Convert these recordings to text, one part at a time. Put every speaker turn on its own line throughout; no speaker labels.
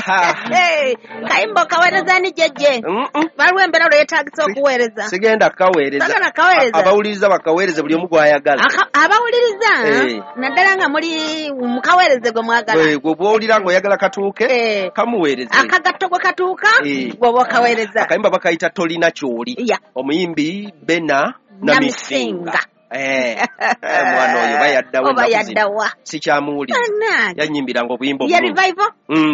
Hey, kayimba okaweereza ni jjejje? Waliwo embeera lweyetagisa okuweereza?
Sigenda kukaweereza.
Sagala kaweereza.
Abawuliriza bakaweereze, buli omu gw'ayagala.
Abawuliriza
Eh.
naddala nga muli mukaweereze gwe mwagala.
Gwe bw'owulira ng'oyagala katuuke,
Eh.
kamuweereze.
Akagatto gwe katuuka,
Eh.
gweoba okaweereza.
Akayimba bakayita "Tolina Kyoli".
Ya.
Omuyimbi Bena
Namisinga.
Namisinga. Eh, omwana oyo bayaddawa.
Oba
Ennaku zino
yaddawa?
sikyamuwulira.
Bannange.
Yanyimbiranga obuyimba
Ye
obulungi.
Revival?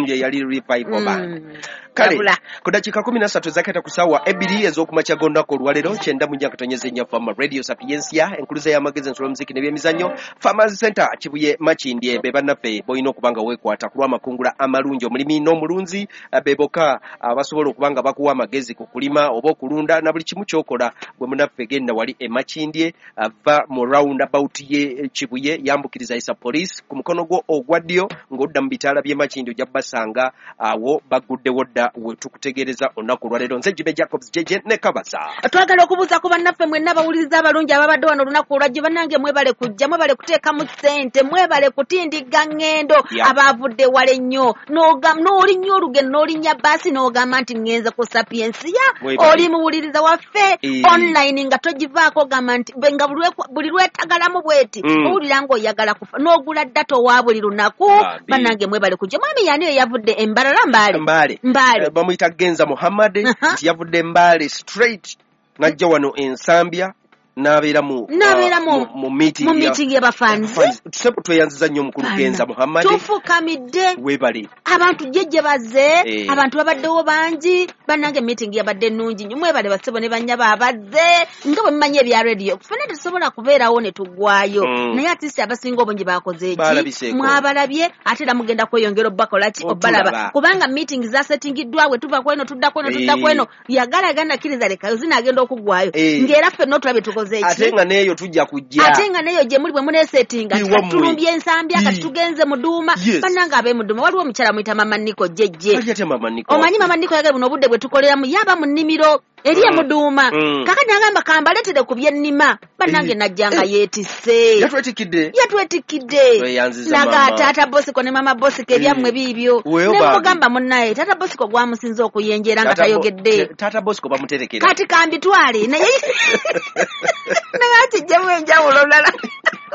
Ye yali Revival Band. Kale
Wabula.
ku dakiika 13 ezaketa ku ssaawa 2 ez'okumakya g'olunaku olwaleero, 94.4 Fama Radio, Sapiensia, enkuluza y'amagezi, ensolo, muziki n'ebyemizannyo. Farmers Center, Kibuye, Makindye, be bannaffe bolina okuba nga weekwata ku lw'amakungula amalungi. Omulimi n'omulunzi be bokka abasobola okuba nga bakuwa amagezi ku kulima oba okulunda na buli kimu ky'okola. Gwe munnaffe, genda wali e Makindye, va mu roundabout ye Kibuye, yambukiriza isa police ku mukono gwo ogwa ddyo ng'odda mu bitaala by'e Makindye, ojja kubasanga awo, bagguddewo dda. We tukutegeereza olunaku olwaleero, nze Jibe Jacobs Jeje ne Kabasa.
Twagala okubuuza ku bannaffe mwenna abawuliriza abalungi ababadde wano olunaku olwajjo. Bannange, mwebale kujja, mwebale kuteekamu ssente, mwebale kutindigga ŋŋendo. Abaavudde wala ennyo, n'olinnya olugendo, n'olinnya baasi, n'ogamba nti ŋŋenze ku Sapiensia.
Mwebale.
Oli muwuliriza waffe
Eh.
online nga togivaako, ogamba nti nga buli lwetagalamu bweti, owulira ng'oyagala kufa, n'ogula data owa buli lunaku.
Bambi.
Bannange, mwebale kujja. Mwami yani eyavudde Embalala, Mbaale?
Mbaale.
Mbaale.
Bamuyita Genza Muhammad. Nti yavudde Mbaale straight n'ajja wano Ensambya n'abeera mu
N'abeera
mu meeting
mu meeting y'abafanzi.
Tusepo, tweyanziza nnyo omukulu Genza Muhammad.
Tufukamidde.
Weebale.
Abantu jjejje bazze.
Eh.
Abantu babaddewo bangi. Bannange, meeting yabadde nnungi nnyo. Mwebale bassebo ne bannyabo abazze. Nga bwe mumanyi ebya radio, ffenna tetusobola kubeerawo ne tuggwayo, naye at least abasinga obungi bakoze eki?
Baalabiseeko.
Mwabalabye, ate era mugenda kweyongera obbakola ki?
Otulaba.
Obbalaba, kubanga meeting zasetingiddwa. Bwe tuva kweno tudda kweno, tudda
Eh.
kweno, yagala kkiriza lekayo, zinaagenda okuggwayo,
Eh.
ng'era ffenna otulabye tukoze
Ate
eki?
nga n'eyo tujja kujja.
Ate nga neyo gye muli bwe muneesetinga.
Iwammwe.
Tulumbye Ensambya kati,
Ii.
tugenze Muduuma.
Yes.
Bannange ab'e Muduuma, waliwo omukyala muyita Mama Niko Jjejje.
Ali atya Mama Niko?
Omanyi Mama Niko yagala buno obudde bwe tukoleramu, yaba mu nnimiro eri emuduuma. Kakati nagamba kambaleetere ku byennima. Bannange,
Eh.
najja nga
Eh.
yeetisse.
Yatwetikkidde.
Yatwetikkidde.
Tweyanziza
Naga
mama.
Taata Bosiko ne Mama Bosiko, ebyammwe
Eh.
biibyo.
Weyo
Ne
bambi.
mugamba munnaye Taata Bosiko gwamusinze okuyenjera nga
Taata
tayogedde.
Taata Bosco bamuterekera.
Kati kambitwale naye, naye akijjemu enjawulo, olulala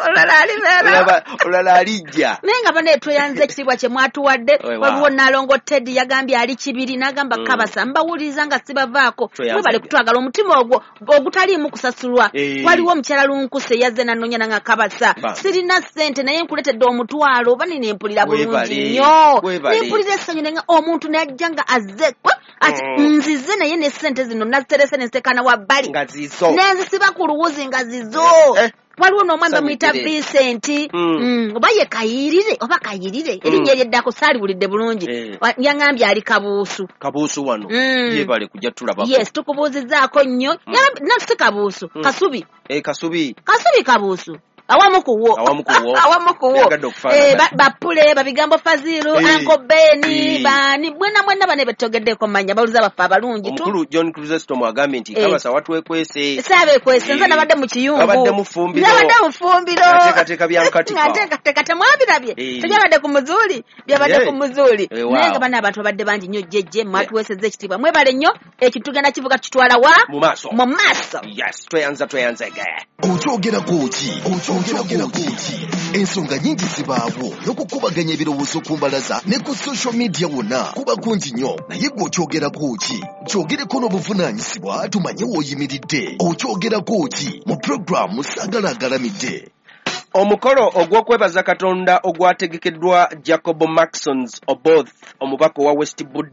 olulala alibeera.
Olala alijja.
Naye nga bane, tweyanze ekitiibwa kye mwatuwadde.
Weewaawo.
Waliwo Nalongo Teddy, yagambye ali Kibiri, n'agamba, "Kabasa, mbawuliriza nga sibavaako."
Tweyanze.
Mwebale kutwagala omutima ogwo ogutaliimu kusasulwa.
Eh.
Waliwo omukyala Lunkuse yazze nanoonya nanga, "Kabasa,
Bambi.
sirina ssente naye nkuleetedde 500." Oba nina empulira bulungi
Weebale.
nnyo.
Weebale.
Nempulira essanyu nenga omuntu najja nga azze ati, "Nzize naye ne ssente zino naziterese nenziteekana wabbali."
Nga zizo.
Nenzisiba ku luwuzi nga zizo.
Eh.
Waliwo n'omwami bamuyita
Sanyukire.
Vincent, oba ye Kayirire oba Kayirire, erinnya eryeddako saaliwulidde bulungi.
Eh.
Yaŋŋambye ali Kabuusu.
Kabuusu wano. Yebale kujja tulabako.
Yes, tukubuuzizzaako nnyo. Na si Kabuusu, Kasubi.
Eh, Kasubi.
Kasubi, Kabuusu, awamu kuwo.
Awamu kuwo.
Awamu kuwo.
Byagadde okufaanana.
Eh, bapule babigambo Faziru,
Eh.
Uncle Beni,
Eh.
bani mwena mwena bane betogeddeko manya bawuliza baffe abalungi tu.
Omukulu John Chrysostom agambye nti,
Eh.
"Kabasa, watwekwese."
Saabeekwese nze.
Eh.
Nabadde mu kiyungu.
Wabadde mu ffumbiro.
Nabadde mu ffumbiro.
Ateekateeka bya nkatika.
Nga nteekateeka, temwabirabye?
Eh.
Tebyabadde ku muzuuli, byabadde
Eh.
ku muzuuli.
Eh, wow.
Naye nga bana abantu babadde bangi nnyo. Jjejje, mwatuweesezza ekitiibwa, mwebale nnyo. Ekintu tugenda kivuga, tukitwala wa?
Mu maaso.
Mu maaso.
Yes, tweyanza, tweyanzege.
Okyogerako ki? Okyogerako ki? Ensonga nyingi zibaawo n'okukubaganya ebirowoozo ku mbalaza ne ku social media wonna kuba kungi nnyo, naye gwe okyogerako ki? Kyogereko n'obuvunaanyizibwa tumanye w'oyimiridde. Okyogerako ki mu pulogulaamu Saagala Agalamidde.
Omukolo ogw'okwebaza Katonda ogwategekeddwa Jacob Maxons Oboth, omubaka owa West Buddo.